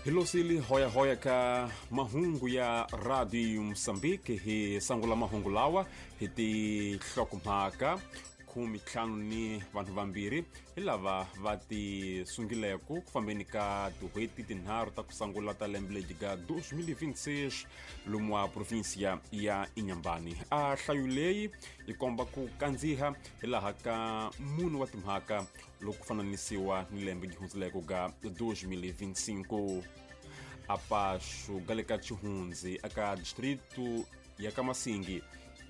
Hi losili hoyahoya ka mahungu ya Radio Mosambiki hi sangula mahungu lawa hi tinhlokomhaka 15 ni vanhu vambirhi hi lava va ti sungileko ku fambeni ka tin'hweti tinharhu ta ku sangula ta lembe ledyi ga 2026 lomu wa provinsiya ya Inhambane. A hlayo leyi yi komba ku kandziha hi laha ka munhu wa timhaka loko ku fananisiwa ni lembe gi hundzileko ga 2025. Apaxo ga le ka Chihundzi aka distrito ya ka Masingi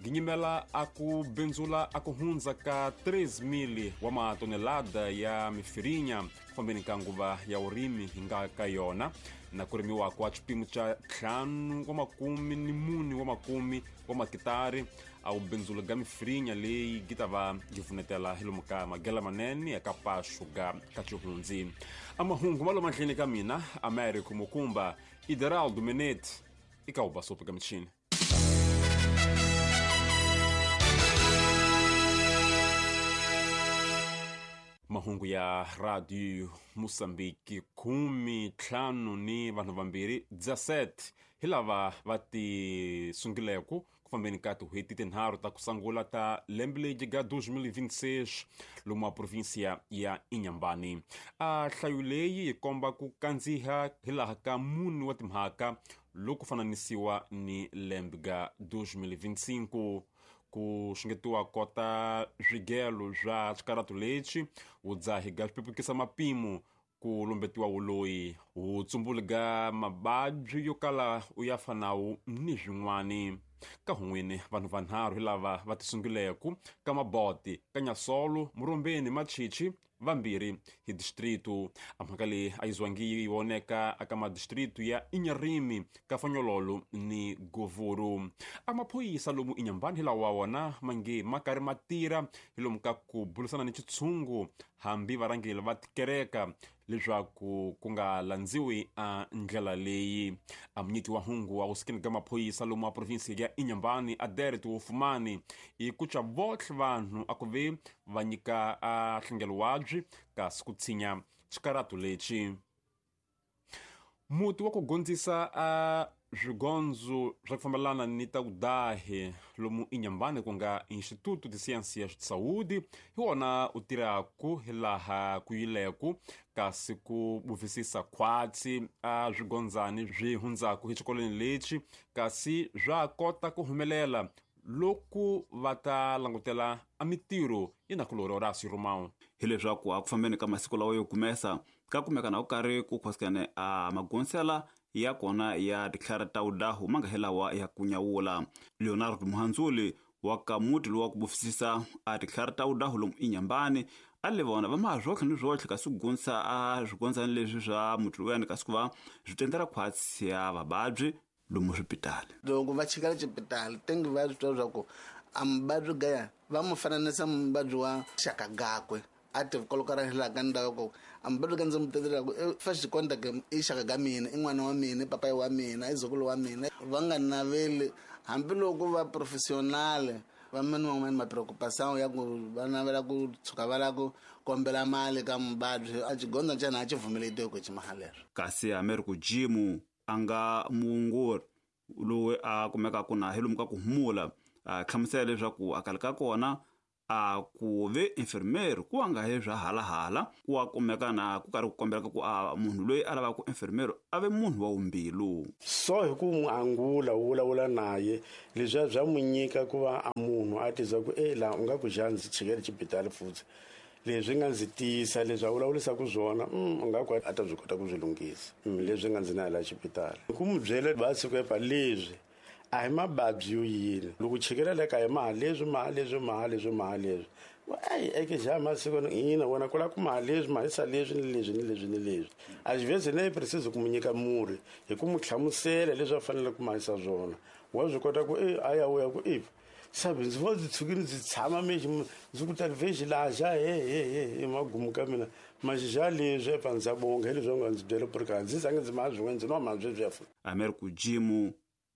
ginyimela a ku bindzula a ku hundza ka 3,000 wa matonelada ya mifirinya ku fambeni ka nguva ya vurimi hi nga ka yona na ku rimiwa kwa xipimo xa 5 wa makume ni mune wa makume wa makitari a wu bindzula ga mifirinya leyi gi ta va gi pfunetela hi lomu ka magela manene ya ka paxo ga ka Chihundzi. A mahungu ma lo mahleni ka mina Americo Mukumba Ideraldo Menete i ka ubasopo ka michini. Mahungu ya Radio Mosambiki 15 ni vanhu vambirhi 17 hi lava va ti sungileko ku fambeni ka tin'hweti tinharhu ta ku sangula ta lembe ledyi ga 2026 lomu wa provinsiya ya Inhambane. A hlayo leyi yi komba ku kandziha hi laha ka mune wa timhaka loko fananisiwa ni lembe ga 2025. Ku xungetiwa kota swigelo swa xikaratu lexi vudzahi ga swipepukisa mapimo ku lumbetiwa wuloyi wutsumbuli ga mababyi yo kala u ya fanawu ni swin'wani. Ka hun'wini vanhu vanharhu hi lava va tisunguleku ka maboti ka Nyasolo Murombeni Machichi vambirhi hi distrito. A mhaka leyi a yi zwangi yi voneka aka madistrito ya Inharime ka Fanyololo ni Govuru. A maphorisa lomu Inhambane hi lawa wona mange ma karhi ma tirha hi lomu ka ku burisana ni xitshungu hambi varhangeri va tikereka leswaku ku nga landziwi a ndlela leyi. A munyiki wa hungu wa vusikeni ka maphorisa lomu wa provinsi ya Inhambane Aderet Wofumani i ku twa votlhe vanhu a ku ve va nyika a hlengelo wabyi kasi ku tshinya xikaratu lexi. Muti wa ku gondzisa a swigondzo swa ku fambelana ni ta vudahi lomu Inhambane ku nga Instituto de Ciências de Saúde hi wona u tirhaku hi laha ku yileku kasi ku buvisisa khwatsi a swigondzani swi hundzaku hi xikolweni lexi kasi swa kota ku humelela loku va ta langutela a mitirho yi na kulori Horácio Romão. Hileswaku a ku fambeni ka masiku lawa yo kumesa ka kumeka na ku karhi ku khosikane a magonsela ya kona ya titlhari ta udahu ma nga helawa ya kunyawula. Leonardo Muhandzuli wa ka muti lowa ku bufisisa a titlhari ta udahu lomu Inhambane a le vona va maha swotlhe ni swotlhe kasi ku gonisa a swigondzani leswi swa muti lowuyani kasi ku va swi tendela khwatsi ya vavabyi lomu swipitali. Loko va chikela xipitali tengi va swi twa swa ku a muvabyi gaya va mu fananisa muvabyi wa xaka gakwe a ti kolokara hi laha ka ndhawu ku a muvabyi ka ndzi mu tetelaka i first contact i xaka ka mina i n'wana wa mina i papayi wa mina i zukulu wa mina va nga naveli hambiloko va professional va mani van'wani ma preocupação ya ku va navela ku tshuka va lava ku kombela mali ka muvabyi a xigondza ntsena a xi pfumeletiwe ku xi leswo. Kasi Americo Jimu a nga muongori loyi a kumekaka na hi lomu ka ku humula a hlamusela leswaku a kale ka kona a ku ve infirmeri ku nga he swa halahala ku wa kumeka na ku karhi ku kombelaka ku a munhu loyi a lavaka infirmeri a ve munhu wa wumbilu. So hi ku n'wi angula u vulavula naye leswiya bya n'wi nyika ku va a munhu a tisa ku e laha u nga ku xa ndzi chikele xibitali futhi leswi nga ndzi tiyisa leswi a vulavurisaka swona u nga ku a ta byi kota ku swi lunghisa leswi nga ndzi na laha xipitali ku n'wi byela va siku epa leswi a hi mababyi yo yini loko chikela le kaya maha leswi maha leswi maha leswi maha leswi ayi eke xa masiku ina wena ku lava ku maha leswi mahisa leswi ni leswi ni leswi ni leswi a xi vheze ne precise ku mu nyika murhi hi ku mu hlamusela leswi a fanele ku mahisa swona wa swi kota ku e a ya u ya ku e sabe ndzi vo ndzi tshukile ndzi tshama mexi ndzi ku talivexi laha xa he he he he magumu ka mina maxixa leswi epa ndza bonga hi leswi va nga ndzi byela ku ri ka ndzi zange ndzi maha swin'wana ndzi nwa maha sweswiya futhi. Americo Jimu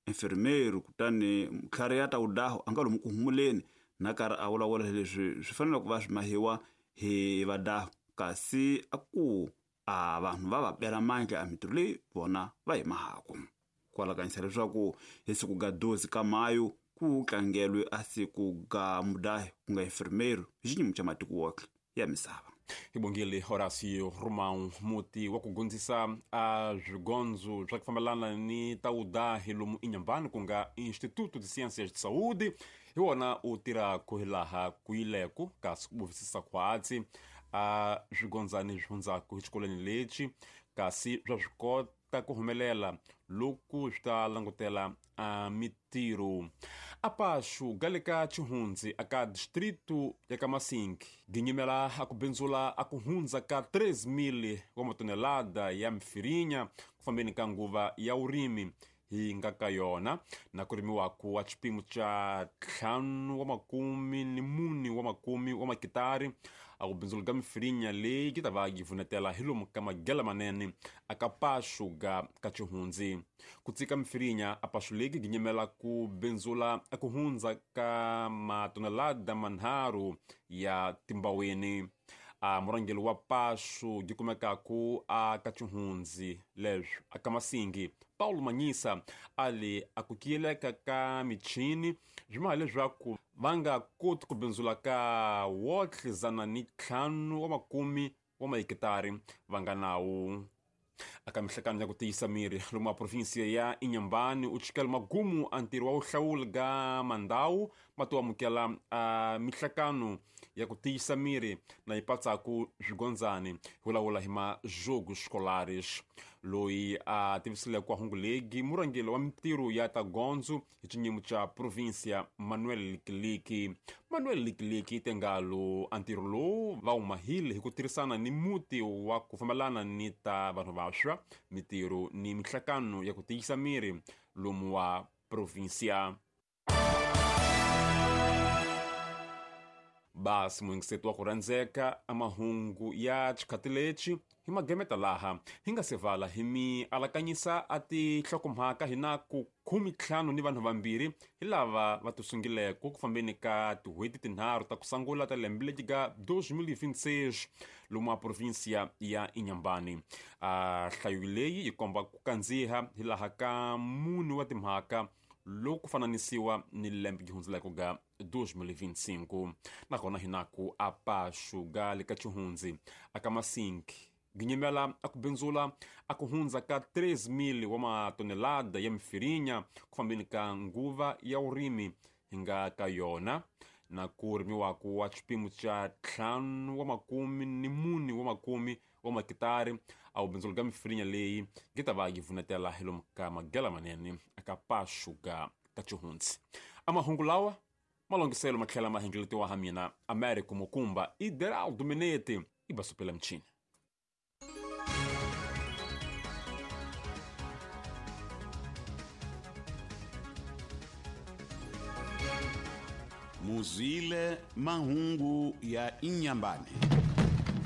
infirmeri kutani mutlhari ya ta udahu a nga lomu ku humuleni na karhi a vulavula leswi swi fanele ku va swi mahiwa hi vadahu kasi a ku A vanhu va va bela mandla a mitirho leyi vona va yi mahaku. Kwalakanyisa leswaku hi siku ga 12 ka Mayu ku tlangelwe a siku ga mudahi ku nga enfermeiro hi xinyimo xa matiko wohle ya misava. Hi bongile Horacio Romão, muti wa ku gondzisa a swigondzo swa ku fambelana ni ta vudahi lomu Inhambane, ku nga Instituto de Ciências de Saúde, hi wona u tirhaka hilaha ku yileku kasi ku buvisisa khwatsi a swigondzani swi hundzaka hi xikolweni lexi, kasi swa swi kota ku humelela loku swi ta langutela a mitirho. Apaxu gale ka Chihundzi aka distrito ya ka Masingi ginyimela a ku bindzula a ku hundza ka 3,000 wa matonelada ya mfirinya ku fambeni ka nguva ya vurimi hi nga ka yona, na ku rimiwaku wa xipimo xa 54 wa makitari. A ku bindzula ka mfirinya leyi yi ta va yi vunetela hi lomu ka magela manene aka paxu ga ka Chihundzi. Ku tsika mfirinya a paxu leyi ginyimela ku bindzula a ku hundza ka matonelada 3 ya timbaweni. A murhangeri wa paxu yi kumekaku a ka Chihundzi leswi aka Masingi, Paulo Manyisa, a li a ku kiyeleka ka michini swi maha leswaku va nga koti ku bindzula ka wotlhe 150 wa mahekitari va nga nawu. Aka mihlekano ya ku tiyisa miri lomu a provinsia ya Inhambane u chikela magumu a ntirho wa vuhlawuli ga mandhawu ma to amukela a mihlekano ya ku tiyisa miri na yi patsaku swigondzani hi vulavula hi majogo scolares. Loyi a tivisile ku hungu legi murhangeri wa mitirho ya ta gondzo hi xinyimo xa provinsia Manuel Likiliki. Manuel Likiliki tengalo a ntirho lowu va wu mahile hi ku tirhisana ni muti wa ku fambelana ni ta vanhu vantshwa mitirho ni mihlekano ya ku tiyisa miri lomu wa provinsia. Basi muyingiseti wa ku rhandzeka a mahungu ya xikhati lexi hi magemeta laha hi nga se vala hi mi alakanyisa a tinhlokomhaka hi na ku 15 ni vanhu vambirhi hi lava va tisungileke ku fambeni ka tin'hweti tinharhu ta ku sungula ta lembe leti ga 2026 lomu a provinsia ya Inhambane. A nhlayo leyi yi komba ku kandziha hi laha ka mune wa timhaka loku ku fananisiwa ni lembe yi hundzeleke ga 2025. Nakona hi na ku apaxu ga le ka Chihundzi aka Masingi ginyimela a ku bindzula a ku hundza ka 3,000 wa matonelada ya mfirinya ku fambeni ka nguva ya vurimi hi nga ka yona, na ku rimiwaku wa xipimo xa 54 wa makitari. A wu bindzula ka mfirinya leyi yi ta va yi vunetela hi lomu ka magela manene aka paxu ga ka Chihundzi. A mahungu lawa malongiselo matlhela ma hengeletiwa ha mina Americo Mukumba i Deraldo Minete i basupela mchini. Muzwile mahungu ya Inhambane.